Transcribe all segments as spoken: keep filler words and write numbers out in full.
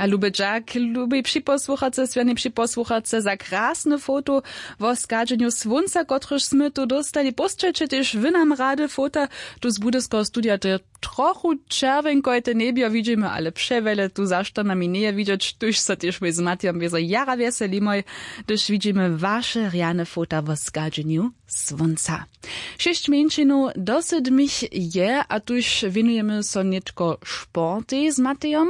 Luby dźak, lubi připosłuchace, swjane připosłuchace, za krasne foto wo schadźenju słónca, kotrež smy tu dóstali. Pósćelće tež wy nam rady fota tu z budyskeho studija. To je trochu čerwjenkojte njebjo widźimy, ale přewjele tu zašto nami njeje widźeć, tuž so tež mój z Matijom wězo jara wjeselimoj, hdyž widźimy waše rjane fota wo schadźenju słónca. Šěsć mjeńšinow do sydmich je a tuž wěnujemy so nětko sportej z Matejom.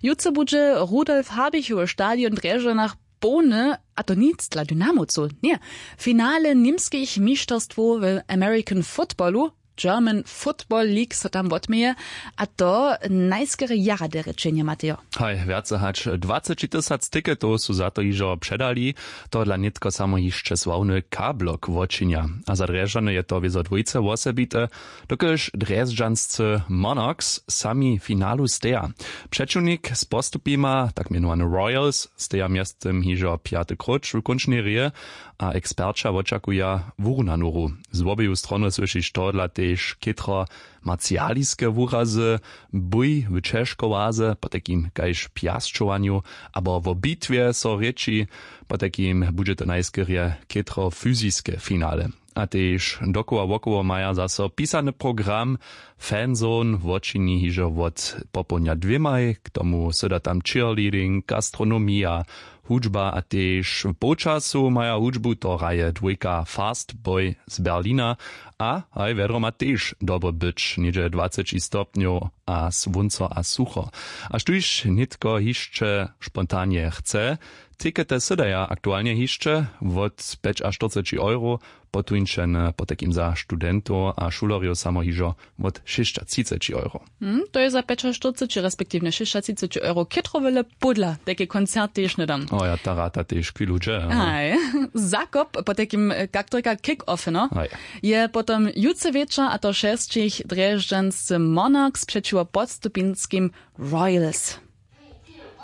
Jutře budźe Rudolf Habichowy stadion w Drježdźanach połny, a to nic dla Dynamowcow, ně. Finale němskich mišterstwow w American Footballu, German Football League so tam wotměje, a to najskerje jara derje čenje, Matejo. Haj, wjace hač dwaceći tysac tiketow su za to hižo předali. Tohodla nětko samo hišće sławny K-blok wočinja, a za Drježdźany je to wězo dwójce wosebite, dokelž drježdźanscy Monarchs sami finalu steja. Přećiwnik z postupima, tak mjenowany Royals, steja mjeztym hižo pjaty króć w kónčnej rěje, a eksperća wočakuja wurunanu hru. Z wobeju stronow słyšiš tohodla tež chětro marcialiske wurazy, bój w ćežkowaze, potajkim kaž pjasćowanju abo wo bitwje so rěči. Potajkim budźe to najskerje chětro fyziske finale. A tež dokoła wokoło maja zaso pisany program. Fanzone wočini hižo wot popołdnja dwěmaj, k tomu syda tam cheerleading, gastronomija, hudźba a tež w połčasu maja hudźbu, to hraje dwójka Fast Boy z Berlina. A haj wjedro ma tež dobre być, něhdźe dwaceći stopnjow a słónco a sucho. A štóž nětko hišće spontanje chce, tikety sydaja aktualnje hišće wot pjećaštyrceći euro, potuńčene potajkim za studentow a šulerjow samo hižo wot šěsćatřiceći euro. Hm, to je za pjećaštyrceći respektiwnje šěsćatřiceći euro chětrowele pódla tajke koncert tež hnydam. O ja, ta rata tež chwilu dźe, aha. Haj. Zakop potajkim, kak to rěka, kick-off, no, haj, je potom jutře wječor, a to šesćich drježdźanscy Monarchs přećiwo podstupinskim Royals.